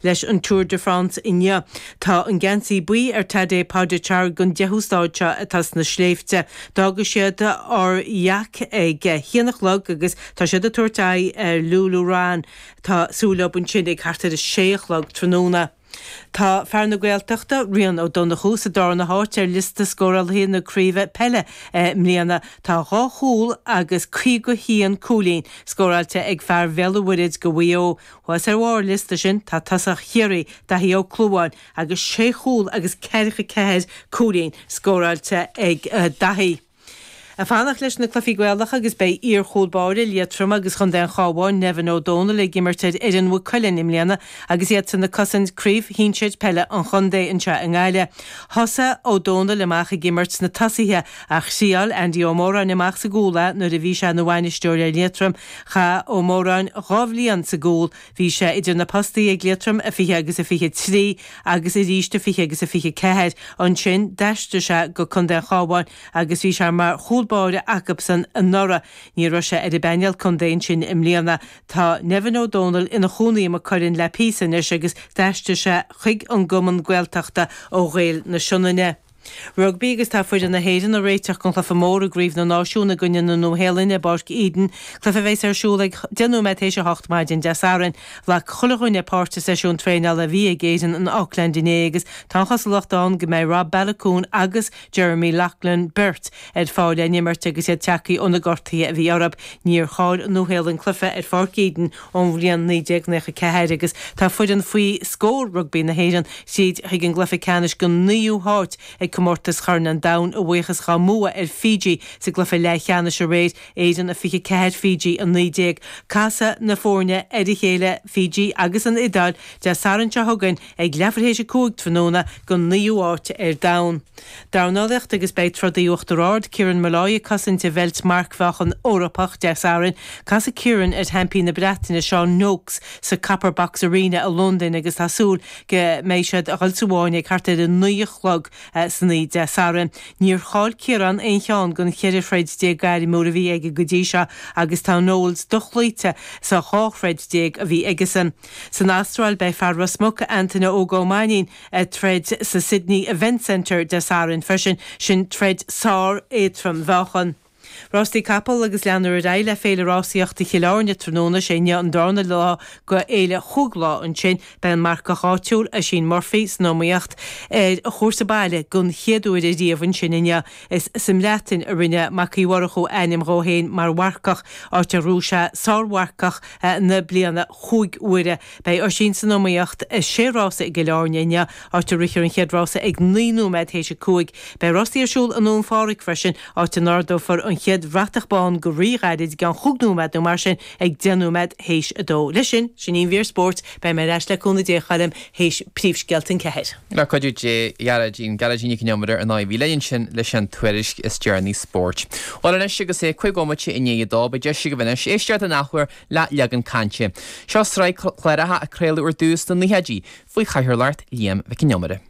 Leis an Tour de France inniu. Tá an geansaí buí ar Tadej Pogačar don deichiú stáid seo atá sna sléibhte. D'fhága siad Aurillac ag a haon a chlog agus tá siad ag tabhairt aghaidh ar Le Louron. Tá súil leo ansin ag thart ar a sé a chlog tráthnóna. Tá fear na Gaeltachta, Rian Ó Donnchú, sa darna háit ar liosta scórálaithe na craoibhe peile i mbliana. Tá 2 chúl agus 51 cúilín scóráilte ag fear Bhéal an Mhuirthead go Mhaigh Eo. Thuas ar bharr an liosta sin tá tosach Chiarraí, Daithí Ó Clúmháin, agus sé chúl agus 44 cúilín scóráilte ag Daithí. Ag fanacht leis na cluichí Gaelacha agus beidh iar-chúl báire Liatroma agus Chontae an Chabháin, Nevin Ó Dónaill ag imirt ar fhoireann Mhaigh Cuilinn i mbliana agus iadsan ag cosaint Craobh Shinsir Peile an Chontae anseo i nGaillimh. Thosaigh Ó Dónaill amach ag imirt sna tosaithe ach thriáil Andy Ó Móráin amach sa gcúl é nuair a bhí sé ina bhainisteoir ar Liatroim. Chaith Ó Móráin 2 bhliain sa gcúl, bhí sé idir na postaí ag Liatroim a 20 agus a 23 agus arís a 20 agus a 24. Ansin d'aistrigh sé go Contae an Chabháin agus bhí sé mar chúl báire acubsan anuraidh. Ní raibh sé ar an bpainéal contae ansin i mbliana. Tá Nevin Ó Dónaill ina chónaí i Maigh Cuilinn le píosa anois agus d'aistrigh sé chuig an gcumann Gaeltachta ó Ghaeil na Sionainne. Rugbaí agus tá foireann na hÉireann ag réiteach don chluiche mór i gCraobh na Náisiún i gcoinne na Nua-Shéalainne i bPáirc Eden, cluiche a bheas ar siúl ag 10 nóiméad théis 8 maidin Dé Sathairn. Ghlac chuile dhuine páirt i seisiún traenála a bhí ag Éirinn in Auckland inné agus tá an chosúlacht ann go mbeidh Rob Baloucoune agus Jeremy Loughlin beirt ar fáil le n-imirt agus iad tagtha ó na gortuithe a bhí orthu. Níor chaill an Nua-Shéalainn cluiche ar Pháirc Eden ón bhliain 1994 agus tá foireann faoi scór rugbaí na hÉireann tríd chuig an gcluiche ceannais don naoú háit ag Comórtas Chorn an Domhain a bhuíochas dhá mbua ar Fiji sa gcluiche leathcheannais aréir, Éirinn 24, Fiji 19. Casfaidh na foirne ar a chéile, Fiji agus an Iodáil, Dé Sathairn seo chugainn ag leathuair théis 5 tráthnóna don naoú háit ar domhan. Dornálaíocht agus beidh trodaí Uachtar Ard, Kieran Molloy ag cosaint a bheilt marcmheáchan Eorpach Dé Sathairn. Casfaidh Kieran ar sheaimpín na Breataine, Sean Noakes, sa Copper Box Arena i Londain agus tá súil go mbeidh siad a dhul sa bhfáinne ag thart ar 9 a chlog san oíche Dé Sathairn. Níor chaill Ciarán aon cheann den 14 throid gairmiúil a bhí aige go dtí seo agus tá Knowles dochloíte sa 12 throid a bhí aigesan. San Astráil beidh fear Ros Muc, Antaine Óg Ó Mainnín, ag troid sa Sydney Event Centre Dé Sathairn freisin, sin troid sár-éadrom-mheáchan. Rástaí capall agus leanfar ar aghaidh le Féile Rásaíochta Chill Airne tráthnóna, sé inniu an darna lá go fhéile chúig lá ansin. Beidh an marcach áitiúil, Oisín Murphy, san iomaíocht ar a chúrsa baile don chéad uair ariamh ansin inniu. Is sa mBreatain a rinne Mac Uí Mhurchú ainm dhó féin mar mharcach, áit ar ghnóthaigh sé sármharcach na bliana chúig huaire. Beidh Oisín san iomaíocht i sé rása i gCill Airne inniu, áit a rithfear an chéad rása ag 9 nóiméad théis a 5. Beidh rásaí ar siúl i nDún Phádraig freisin, áit a n-ardófar an chéad bhratach bán go rí-ghairid, i gceann chúig nóiméad nó mar sin, ag 10 nóiméad théis a dó. Leis sin, sin í an mhír spóirt. Beidh mé ar ais le cúnamh Dé, a Choilm, théis príomhscéalta an ceathair. Le cuidiú Dé, a Ghearóidín, Gearóidín Nic Con Iomaire ar ndóigh a bhí linn ansin leis an tuairisc is deireanaí spóirt. Bhuel anois agus é 5 bhomaite i ndiaidh a dó, beidh deis agaibh anois éisteacht an athuair le Leagan Cainte. Seo sraith cláracha a craoladh ar dtús sna naochaidí faoi chathaoirleacht Liam Mhic Con Iomaire.